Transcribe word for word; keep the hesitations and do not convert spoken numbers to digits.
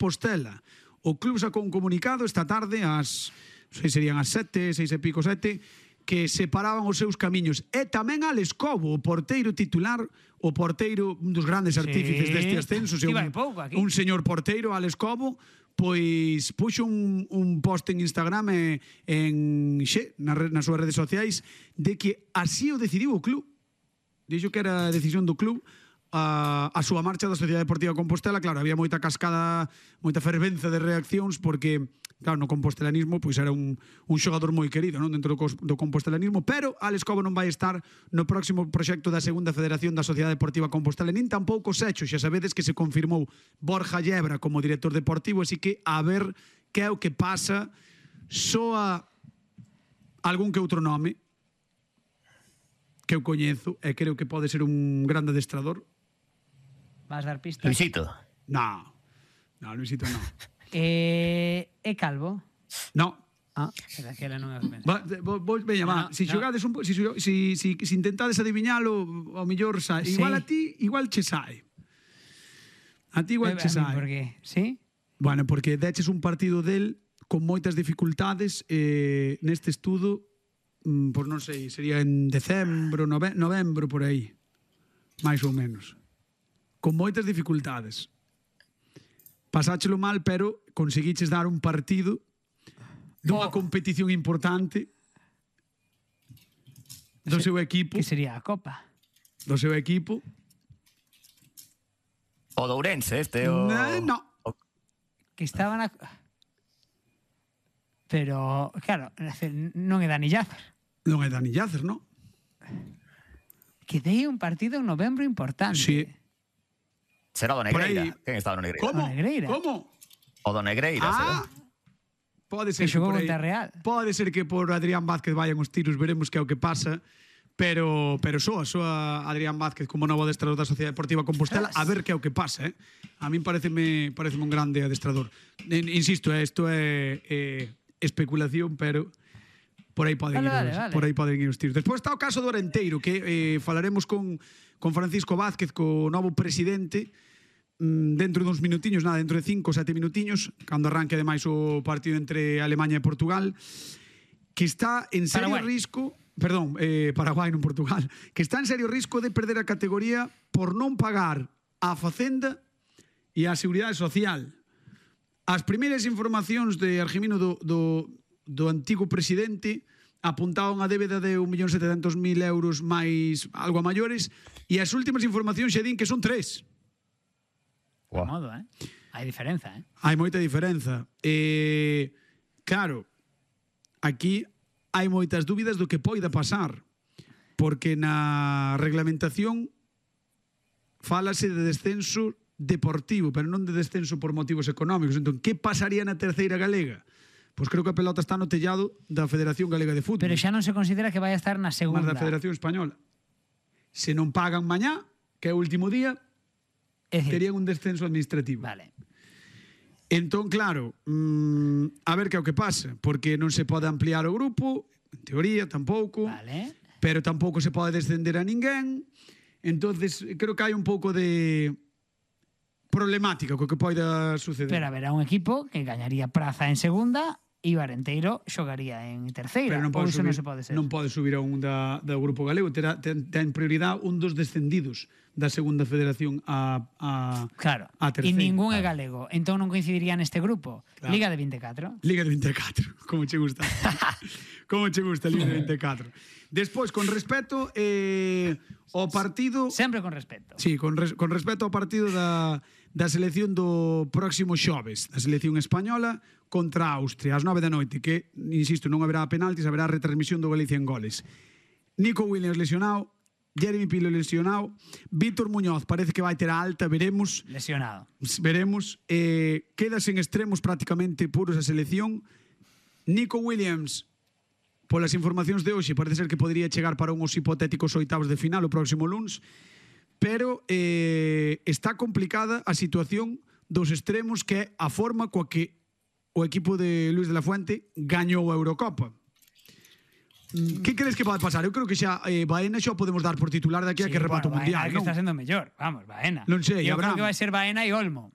Compostela. O club sacou un comunicado esta tarde ás, non sei, serían as sete, seis e pico, sete, que separaban os seus camiños. E tamén Alex Cobo, o porteiro titular, o porteiro, un dos grandes artífices Sí. deste ascenso, Iba un, hai pouco aquí. un señor porteiro, Alex Cobo, pois puxo un, un post en Instagram e en xe, na, nas súas redes sociais, de que así o decidiu o club. Dixo que era a decisión do club a, a súa marcha da Sociedade Deportiva Compostela. Claro, había moita cascada, moita fervenza de reaccións, porque claro, no compostelanismo pois era un, un xogador moi querido, non, dentro do, do compostelanismo, pero Alex Cobo non vai estar no próximo proxecto da Segunda Federación da Sociedade Deportiva Compostela, nin tampouco Secho. Xa sabedes que se confirmou Borja Llebra como director deportivo, así que a ver que é o que pasa. Soa algún que outro nome que eu coñezo e creo que pode ser un grande adestrador. Vas dar pistas? Luisito. No, no, Luisito no. Eh, é calvo? No. Ah, era que ela non é ben. Va, vos, vos, veña, No, va, no, si no. xogades un po, si, si, si, si intentades adiviñalo, ao mellor sae. Sí. Igual a ti, igual che sae. A ti igual Eh, che a mí, sae. por qué? Sí? Bueno, porque deches un partido del con moitas dificultades eh, neste estudo, mm, por non sei, sería en decembro, nove, novembro, por aí. Mais ou menos. Con moitas dificultades. Pasáchelo mal, pero conseguiches dar un partido dunha Oh. competición importante do Se- seu equipo, Que sería a Copa? do seu equipo. O de Ourense, este o... No, no. o- Que estaba na... Pero, claro, non é Dani Llacer. Non é Dani Llacer, non? Que dei un partido en novembro importante. Sí. Será o do Por aí. Negreira. Quen estaba no Negreira? Como? O Negreira. Como? O do Negreira, Ah, será? pode ser Que xogou por aí- contra Real. Pode ser que por Adrián Vázquez vayan os tiros, veremos que é o que pasa. Pero pero soa, soa Adrián Vázquez como novo adestrador da Sociedade Deportiva Compostela, a ver que é o que pasa, eh? A min pareceme pareceme un grande adestrador. En, insisto, eh, isto é eh, especulación, pero por aí poden Vale, ir, vale, os, vale. por aí poden ir os tiros. Despois está o caso do Orenteiro, que eh, falaremos con con Francisco Vázquez, co novo presidente, mm, dentro duns minutiños, nada, dentro de cinco, sete minutiños, cando arranque ademais o partido entre Alemanha e Portugal, que está en serio Paraguai. risco, perdón, eh, Paraguai non Portugal, que está en serio risco de perder a categoría por non pagar a Facenda e a Seguridade Social. As primeiras informacións de Argimino do, do, do antigo presidente apuntaban a débeda de un millón setecentos mil euros máis algo a maiores, e as últimas informacións xa din que son tres. De modo, eh? Hai diferenza, eh? Hai moita diferenza. Eh, claro, aquí hai moitas dúbidas do que poida pasar, porque na reglamentación fálase de descenso deportivo, pero non de descenso por motivos económicos. Entón, que pasaría na terceira galega? Pois creo que a pelota está no tellado da Federación Galega de Fútbol, Pero xa non se considera que vai a estar na mas segunda. da Federación Española. Se non pagan mañá, que é o último día, É dicir, terían un descenso administrativo. Vale. Entón, claro, mmm, a ver que é o que pasa, porque non se pode ampliar o grupo, en teoría tampouco, Vale. pero tampouco se pode descender a ninguén. Entonces, creo que hai un pouco de problemática co que poida suceder. Pero haberá un equipo que gañaría praza en segunda e o Arenteiro xogaría en terceira. Pero non Ou pode iso subir, non se pode ser. non pode subir a un da, do grupo galego, terá, ten, ten prioridade un dos descendidos da segunda federación a, a, Claro. a E terceira. ningún é galego. Entón non coincidiría neste grupo. Claro. Liga de vinte e catro. Liga de vinte e catro, como che gusta. Como che gusta a Liga de vinte e catro. Despois, con respeto eh, ao partido... Sempre con respeto. Sí, con, res, con respecto ao partido da, da selección do próximo xoves, da selección española contra Austria, ás nove da noite, que, insisto, non haberá penaltis, haberá retransmisión do Galicia en goles. Nico Williams lesionado, Jeremy Pino lesionado, Víctor Muñoz parece que vai ter a alta, veremos, Lesionado. veremos, eh, queda sen extremos prácticamente puros a selección. Nico Williams, polas informacións de hoxe, parece ser que podría chegar para uns hipotéticos oitavos de final o próximo luns, pero eh, está complicada a situación dos extremos, que é a forma coa que o equipo de Luis de la Fuente gañou a Eurocopa. Mm, Que crees que pode pasar? Eu creo que xa eh, Baena xa o podemos dar por titular de aquí a Sí, que remate o bueno, Mundial, Baena, que non? está sendo mellor. Vamos, Baena. Non sei, Eu Abraham. creo que vai ser Baena e Olmo.